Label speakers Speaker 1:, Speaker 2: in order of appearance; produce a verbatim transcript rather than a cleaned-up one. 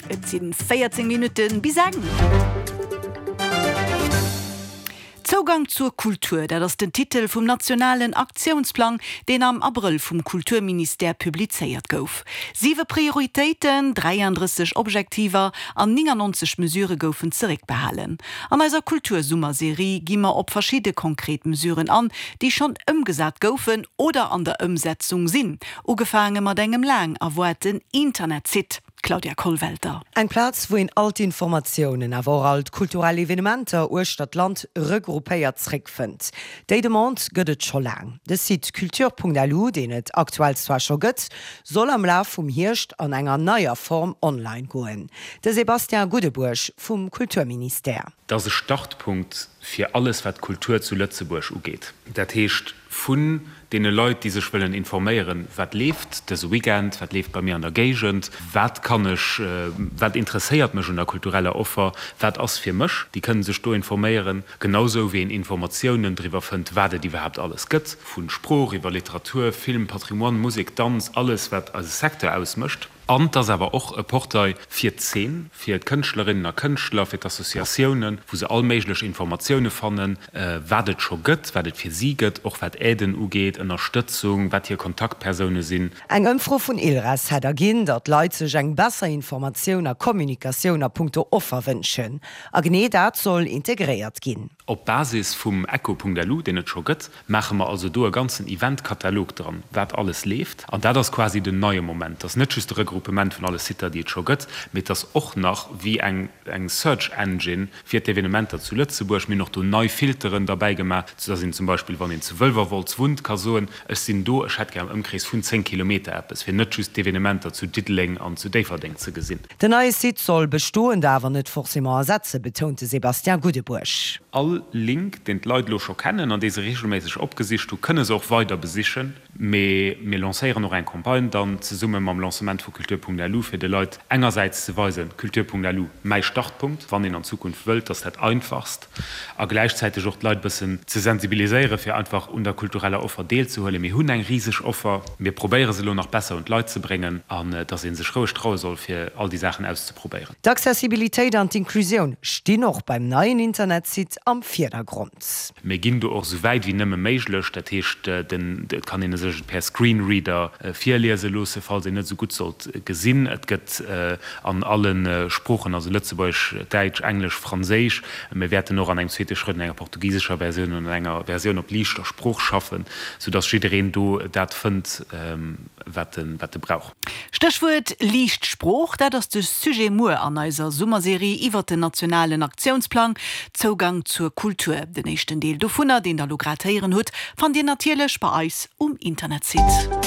Speaker 1: Et sinn véierzéng Minutten bis eng. Zougang zur Kultur, dat ass den Titel vum nationalen Aktiounsplang, deen am Abrëll vum Kulturministère publizéiert gouf. Siwe Prioritéiten, dräiandrësseg Objektiver an néngannonzeg Mesurë goufen zeréckbehalen. An eiser Kultursummerserie gi mer op verschidde konkret Mesuren an, déi schonn ëmgesat goufen oder an der Ëmsetzung sinn, ugefaange mat engem laang erwaarten Internetsite. Claudia Kollwelter.
Speaker 2: Eng Plaz, wou een all d'Informatiounen, awer och all d'kulturell Evenementer uechter d'Land regroupéiert zréckfënnt. Déi Demande gëtt et scho laang. De Site culture.lu, deen et aktuell zwar scho gëtt, soll am Laf vum Hierscht an enger neier Form online goen. De Sébastien Goudebourg vum Kulturministère.
Speaker 3: Et ass e Startpunkt fir alles, wat d'Kultur zu Lëtzebuerg ugeet. Dat heescht, vun deene Leit, déi sech wëllen informéieren, wat leeft dëse Weekend, wat leeft bei mir an der Géigend, wat kann ech, wat interesséiert mech un der kultureller Offer, wat ass fir mech, déi kënnen sech do informéieren, genausou wéi een Informatiounen driwwer fënnt, wat et iwwerhaapt alles gëtt, vu Sprooch iwwer Literatur, Film, Patrimoine, Musek, Danz, alles wat eise Secteur ausmécht. An et ass awer och e Portail fir d'Zeen, fir d'Kënschtlerinnen a Kënschtler, fir d'Associatiounen, wou se all méiglech Informatioune fannen, wat et scho gëtt, wat et fir si gëtt, och wat Aiden ugeet, Ënnerstëtzung, wat hir Kontaktpersoune sinn.
Speaker 2: Eng Ëmfro vun ILRES hätt erginn, datt Leit sech eng besser Informatioun a Kommunikatioun a punkto Offer wënschen. A genee dat soll integréiert ginn.
Speaker 3: Op Basis vum Echo.lu, deen et scho gëtt, maache mer also do e ganzen Event-Katalog dran, wat alles leeft. An dat ass quasi den neie Moment. Et ass net just de Regroupement vun alle Sitter, déi et scho gëtt, mee et ass och nach wéi eng eng Search Engine fir d'Evenementer zu Lëtzebuerg. Mir hunn och do nei Filteren derbäi gemaach, soudass een zum Beispill, wann een zu Wëlwerwolz wunnt, ka soen, Ech sinn do, ech hätt gär am Ëmkrees vun zéng Kilometer eppes, fir net just d'Evenementer zu Diddeleng an zu Déifferdeng ze gesinn.
Speaker 2: Den neie Site soll bestoend awer net forcément ersetzen, betount de Sébastien Goudebourg.
Speaker 3: All Link, deen d'Leit elo scho kennen an dee se reegelméisseg opgesicht hu, kënne se och weider besichen. Mee mir lancéieren och eng Campagne dann zesumme mam Lancement vu Culture.lu, fir de Leit engersäits ze weisen, Culture.lu, mäi Startpunkt, wann een an Zukunft wëllt, dass dat einfachst, a gläichzäiteg och d'Leit bëssen ze sensibiliséieren, fir einfach un der kultureller Offer deelzehuelen. Mir hunn eng riseg Offer, mir probéiere se elo nach besser un d'Leit ze bréngen an dass ee sech roueg traue soll, fir all déi Saachen auszeprobéieren.
Speaker 2: D'Accessibilitéit an d'Inclusioun stinn och beim neien Internetsite am Virdergrond.
Speaker 3: Mir ginn do och esou wäit wéi nëmme méiglech. Dat heescht, et kann een e sech et per Screenreader virliese loosse, falls een net esou gutt sollt gesinn. Et gëtt an alle Sproochen, also Lëtzebuergesch, Däitsch, Englesch, Franséisch. Mir wäerten och an engem zweete Schrëtt un enger portugisescher Versioun an un enger Versioun op liichter Sprooch schaffen, soudass jiddereen do dat fënnt, wat e brauch.
Speaker 1: Stéchwuert liicht Sprooch, dat ass de Sujet muer an eiser Summerserie iwwert den nationalen Aktiounsplang Zougang zur Kultur. Den éischten Deel dovunner, deen der elo grad héieren hutt, fannt dir natierlech bei eis um Internetsite.